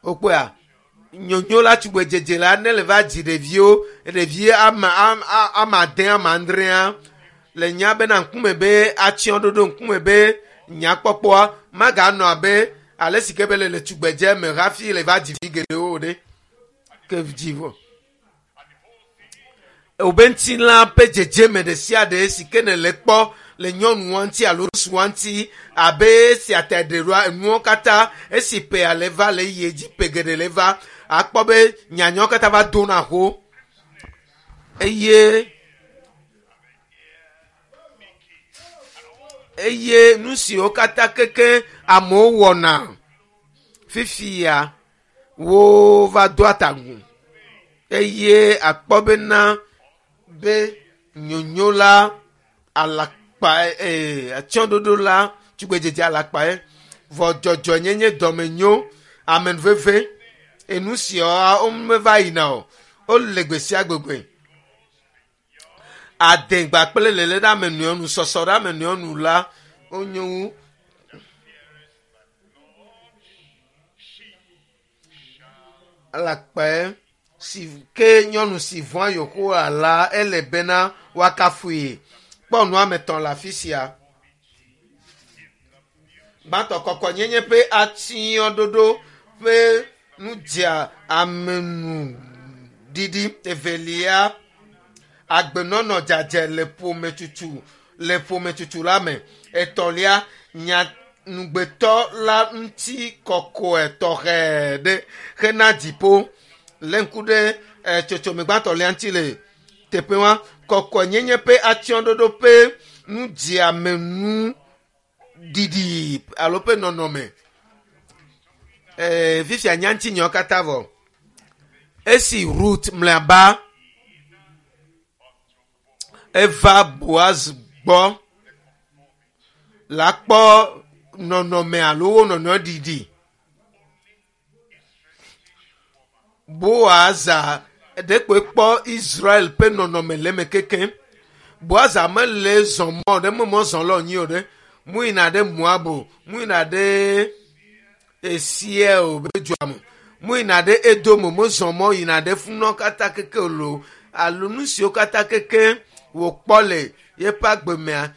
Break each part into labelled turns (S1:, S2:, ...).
S1: Wokpɔa nyonyo la tugbedzedze la ne le va dzi ɖeviwo ɖevi ame am- a- ame ade ame adrea le nya bena ŋkume be atsyɔ̃ɖoɖo ŋkume be nyakpɔkpɔa maganɔ abe ale si ke be le le tugbedze me hafi le va dzi vi geɖewo o ɖe ke dzi vɔ wobe ŋutilã ƒe dzedzeme ɖe sia ɖe si ke ne le kpɔ le nyɔnua ŋuti alo ŋutsua ŋuti abe esia ta ɖe ɖoa enuwo katã esi ƒea le va le yie dzi ƒe geɖe le va akpɔ be nyanyawo katã va dona ho eye eye nu siwo katã keke amewo wɔna fifia wova doa ta gu eye akpɔ bena be nyonyo la alakpa ee atsyɔ̃ɖoɖo la tugbedzedze alakpae vɔ dzɔdzɔenyenye dɔmenyo amenuveve enu siawo womeva yina o wole gbe sia gbegbe adegba kple lele ɖe ame nɔewo nu sɔsɔ ɖe ame nɔewo nu la wonyo wu alakpae si ke nyɔnu si vɔ̃a Yehowa la ele bena woakafui. Kpɔ nu ame etɔ̃ le afi sia. Gbãtɔ kɔkɔnyenye ƒe atsyɔ̃ɖoɖo ƒe nu dzea ame nu ɖiɖi. Evelia, agbenɔnɔ dzadzɛ le ƒometutu le ƒometutu la me. Etɔ̃lia, nya nugbetɔ la ŋuti kɔkɔe tɔxɛ ɖe hena dziƒo. Lé ŋku ɖe eh, tsotsome gbãtɔlia ŋuti le teƒe wa. Kɔkɔenyenye ƒe atsyɔ̃ɖoɖo ƒe nudziamenu ɖiɖi alo ƒe nɔnɔme. Eh, fifia nya ŋutinyawo katã vɔ. Esi Ruth mlɔeba eva Boaz gbɔ la kpɔ nɔnɔme alo wo nɔnɔe ɖiɖi. Boaza ɖekpoe kpɔ Israel ƒe nɔnɔme le eme kekeŋ. Boaza mele zɔ mɔ ɖe me mɔ zɔ lɔ nyi o ɖe. Mu yina ɖe Moab, mu yina ɖe Esie o be dua me. Mu yina ɖe Edom, mu zɔ mɔ yina ɖe funɔ katã keke o lo alo nu siwo katã keke wòkpɔ le yeƒe agbe mea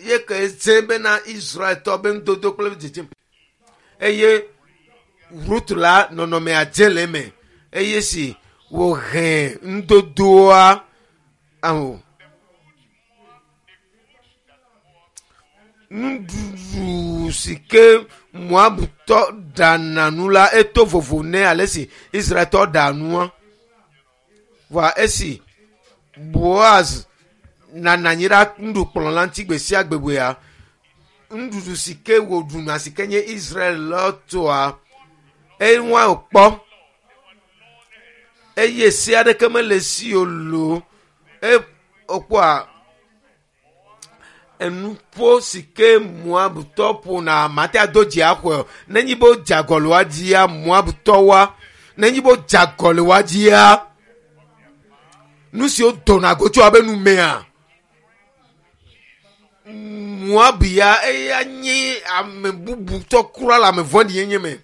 S1: ye ke dze bena Israeltɔ be nudodo kple dzedzeme. Eye Ruth la nɔnɔmea dze le eme eye si wòhe nudodoa aho nuɖuɖu si ke Moabtɔ ɖana nu la eto vovo nɛ ale si Israeltɔ ɖa nua. Vɔa esi Boaz nana anyi ɖe nuɖukplɔ la ŋuti gbe sia gbe gbea, nuɖuɖu si ke wòɖuna si ke nye Israel la tɔa, enua wòkpɔ eye se aɖeke mele esi o loo. E wokpɔa enuƒo si ke Moabtɔ ƒona mate ado dzi axɔe o. Nenye be wodze agɔ le woa dzia, Moabtɔwoa, nenye be wodze agɔ le woa dzia, nu siwo dona go tso abe numea, Moab ya eya nye ame bubutɔ kura le ame vɔ̃ɖi nyenye me.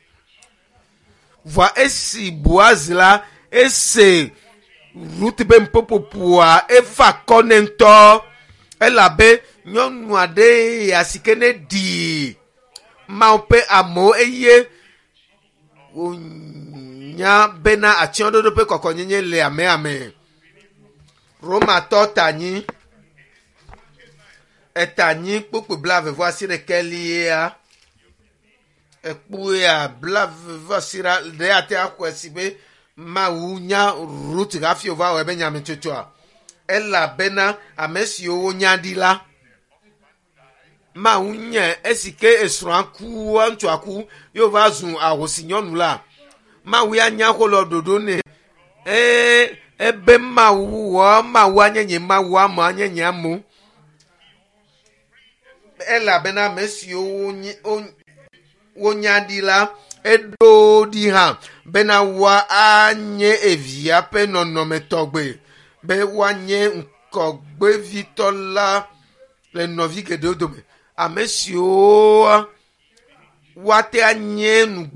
S1: Vɔa esi Boaz la ese Ruth be nuƒoƒoa efa akɔ nɛ ŋutɔ elabe nyɔnu aɖe ya si ke ne ɖi Mawu ƒe amewo eye wònya bena atsyɔ̃ɖoɖo ƒe kɔkɔnyenye le amea me. Romatɔ ta nyi eta nyi kpukpui blaeve vɔ asiɖekɛlia ekpuia blaeve vɔ asiɖe ɖe ate axɔe si be Mawu nya Ruth hafi wòva wɔ eƒe nyametsotsoa elabena ame siwo wonya ɖi la Mawu nye esi ke esrɔ̃a ku ŋutsua ku ye wòva zu ahosi nyɔnu la Mawu ya nya xɔ le ɖoɖo nɛ ee ebe Mawu wɔ Mawu anye nye Mawu ame anye nye amewo elabena ame siwo wonye wonya ɖi la eɖo ɖi hã bena woanye evia ƒe nɔnɔme tɔgbe be woanye ŋkɔgbevitɔ la le nɔvi geɖewo dome ame siwo woate anye nugbe.